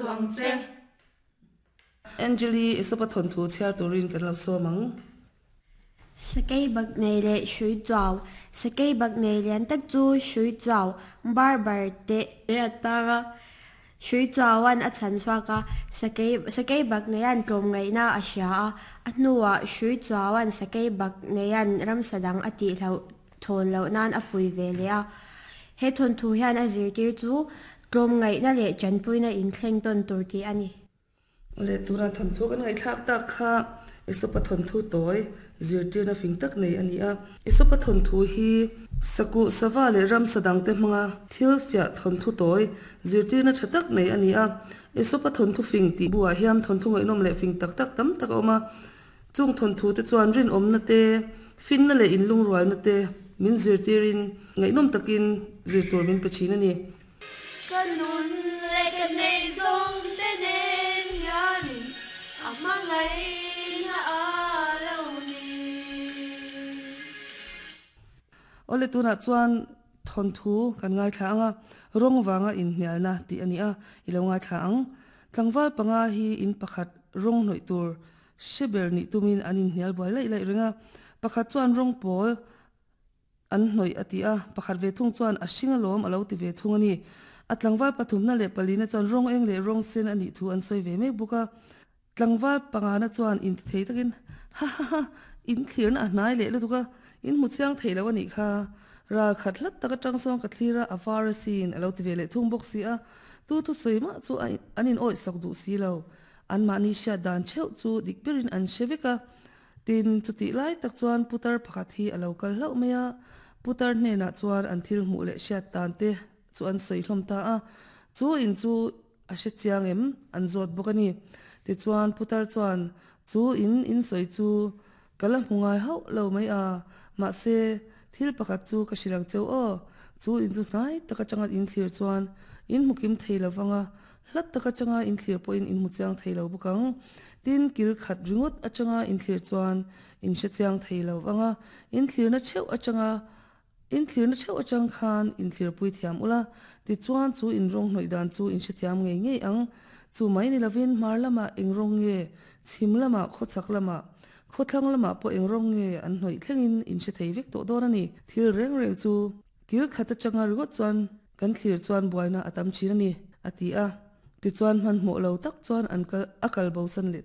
suh ang che. Angeli, Esopa thawnthu chhiar turin kan lo sawm ang. Sakei bak nei leh hrui chuau. Sakei bak nei lian tak chu hrui chuau bar bar teh a tang a. Hrui chuauan a chhan chhuak a, sakei sakei bak neian tlawmngaihna a hria a. A hnuah hrui chuauan sakei bak neian ramsa dang a tihloh thawn loh nan a pui ve leh a. He thawnthu hian a zirtir chu tlawmngaihna leh tanpuina inthleng tawn tur tih a ni. Leh tura thawnthu kan ngaihthlak tak kha Esopa thawnthu tawi zirtirna fing tak nei a ni a. Esopa thawnthu hi sakuh sava leh ramsa dangte hmanga thil fiah thawnthu tawi zirtirna tha tak nei a ni a. Esopa thawnthu fing tih buah hian thawnthu ngaihnawm leh fing tak tak tam tak a awm a. Chung thawnthu te chuan rinawmna te, finna leh inlungrualna te min zirtirin ngaihnawm takin zir tur min pe thin a ni. Ka nun leh ka neih zawng te nen hianin a hmangaihna a lo ni. Awle tunah chuan thawnthu kan ngaithla ang a, rawng vanga inhnialna tih a ni a, i lo ngaithla ang. Tlangval panga hi in pakhat rawng hnawih tur hre ber nih tumin an inhnial buai laih laih reng a, pakhat chuan rawng pawl an hnawih a ti a, pakhat ve thung chuan a hring alawm a lo ti ve thung a ni. A tlangval pathumna leh palina chuan rawng eng leh rawng sen a nih thu an sawi ve mek bawk a. Tlangval pangana chuan inti thei takin, Ha ha ha, in thlirna a hnai leh lutuk a, in hmu chiang thei lo a nih kha. Ral khat hlat tak atang sawn ka thlir a, a var asin a lo ti ve leh thung bawk si a, tu thusawi mah chu an in awih sak duh si lo. Anmahni hriat dan theuh chu dik berin an hre vek a. Tin, chutih lai tak chuan putar pakhat hi a lo kal hlauh mai a, putar hnenah chuan an thil hmuh leh hriat dan te chu an sawi hlawm ta a, chu in chu a hre chiang em? An zawt bawk a ni. Tichuan putar chuan chu in in sawi chu ka la hmu ngai hauh lo mai a, mahse thil pakhat chu ka hrilh ang cheu aw, chu in chu hnai tak atanga in thlir chuan in hmu kim thei lo vang a, Hlat tak atanga inthlir pawhin in hmu chiang thei lo bawk ang. Tin, kil khat ringawt atanga inthlir chuan in hre chiang thei lo vang a, inthlirna theuh atanga inthlirna theuh atang khan inthlirpui thiam ula, tichuan chu in rawng hnawih dan chu in hrethiam ngei ngei ang. Chu mai ni lovin hmar lamah eng rawng nge, chhim lamah, khawchhak lamah, khawthlang lamah pawh eng rawng nge an hnawih thlengin in hre thei vek tawh dawn a ni. Thil reng reng chu kil khat atanga ringawt chuan Kan thlir chuan buaina a tam thin a ni, a ti a. Tichuan hmanhmawh lo tak chuan an kal a kal bosan leh.